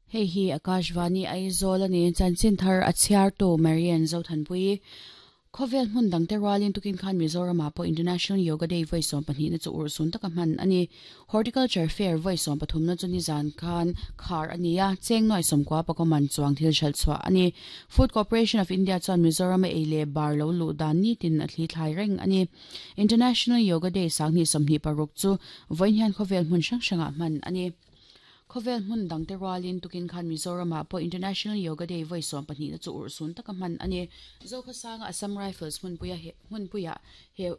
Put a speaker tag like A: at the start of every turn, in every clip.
A: Hei hi Akashvani Aizawl a ni. Chanchin thar a chhiartu Marian Zothanpui. Khawvel hmun dangte rualin tukin khan Mizoramah pawh International Yoga Day vawi 12 na chu urhsun taka hman a ni. Horticulture Fair vawi 13 na chu nizan khan khar a ni a, cheng nuai 90 pakaw man chuang thil hralh chhuah a ni. Food Corporation of India chuan Mizorama ei leh bar lo luh dan nitin a thli thlai reng a ni. International Yoga Day 2026 chu vawiin hian khawvel hmun hrang hrangah hman a ni. Khawvel hmun dangte rualin tukin khan Mizoramah pawh International Yoga Day vawi 12 na chu urhsun taka hman a ni. Zokhawsanga Assam Rifles hmunpuia he hmunpuia he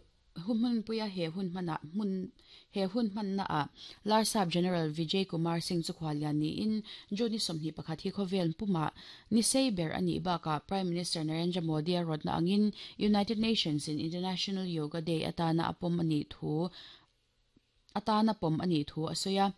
A: hmunpuia he hun hmanah hmun he hun hmannaah Larsap General Vijay Kumar Singh chu khuallian niin June ni 21 hi khawvel pumah ni sei ber a nih bakah Prime Minister Narendra Modi a rawtna angin United Nations in International Yoga Day atana a pawm a nih thu atana pawm a nih thu a sawi a.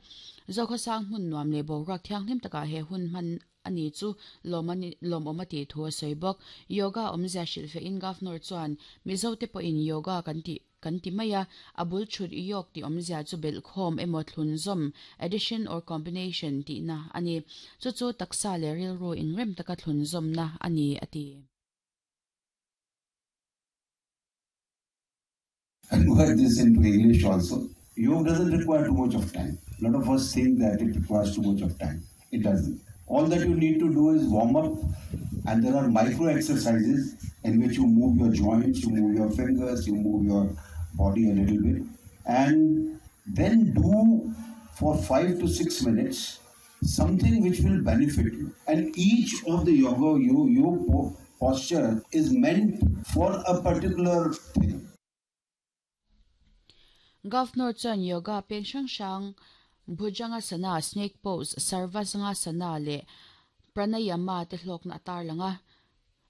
A: Zokhawsang hmun nuam leh boruak thianghlim takah he hun hman a ni chu lawmawm a tih thu a sawi bawk. Yoga awmzia hrilhfehin Governor chuan Mizote pawhin yoga kan tih kan ti mai a, a bul thut yog tih awmzia chu belhkhawm emaw thlunzawm, addition or combination, tihna a ni. Chu chu taksa leh rilru inrem taka thlunzawmna a ni a ti.
B: Convert this into English also. Yoga doesn't require too much of time. A lot of us think that it requires too much of time. It doesn't. All that you need to do is warm up, and there are micro exercises in which you move your joints, you move your fingers, you move your body a little bit, and then do for 5 to 6 minutes something which will benefit you. And each of the yoga you posture is meant for a particular thing.
A: Governor chuan yoga peng hrang hrang Bhujangasana, Snake Pose, Sarvasangasana leh Pranayama te hlawkna a tarlang a.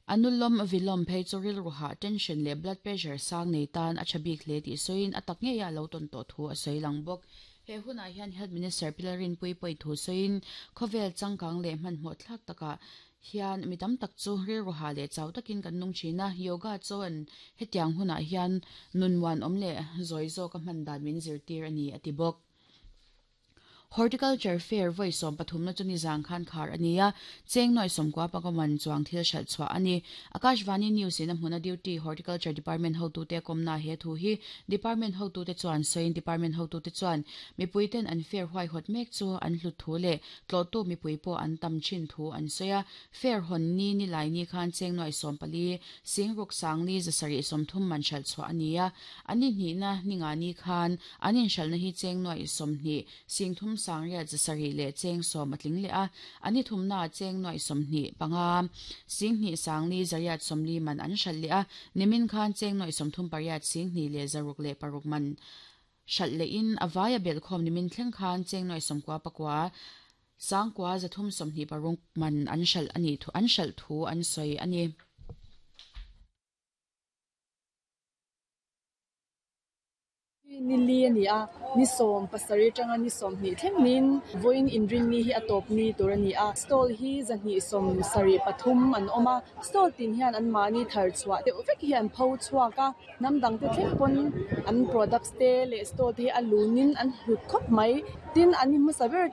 A: Anulom Vilom phei chu rilru hah, tension leh blood pressure sang nei tan a tha bik hle tih sawiin a tak ngeiah a lo tawn tawh thu a sawi lang bawk. He hunah hian Health Minister Pi Lalrinpuii pawhin thu sawiin khawvel changkang leh hmanhmawh thlak takah hian mi tam tak chu rilru hah leh chau takin kan nung thin a, yoga chuan hetiang hunah hian nun muanawm leh zawi zawka hman dan min zirtir a ni a ti bawk. Horticulture Fair vawi 13 na chu nizang khan khar a ni a, cheng nuai 90 panga man chuang thil hralh chhuah a ni. Akashvani News in a hmuna duty Horticulture Department hotute kawmna he thu hi Department hotute chuan sawiin Department hotute chuan mipui ten an fair huaihawt mek chu an hlut thu leh tlawhtu mipui pawh an tam thin thu an sawi a. Fair hawn ni nilai ni khan cheng nuai 14 singruk sangli 730 man hralh chhuah a ni a, a ni hnihna ni nga ni khan An inhralhna hi cheng nuaih 20, 30 sangriat 7 leh cheng 10 a tling leh a, an ni thumnaah cheng nuaih 25, 2 sangli zariat 40 man an hralh leh a, nimin khan cheng nuaih 38 2 leh zaruk leh paruk man hralh lehin a vaia belhkhawm nimin thleng khan cheng nuaih 99, 9 326 man an hralh a nih an hralh thu an sawi a ni.
C: Ni li a ni a, ni 17 atanga ni 20 thleng niin vawiin inrinni hi a tawp ni tur a ni a. Stall hi 273 an awm a, stall tin hian anmahni thar chhuah deuh vek hi an pho chhuak a, hnam dangte thleng pawn an products te leh stall te hi a lunin an hlut khawp mai. Tin, an ni hmasa ber.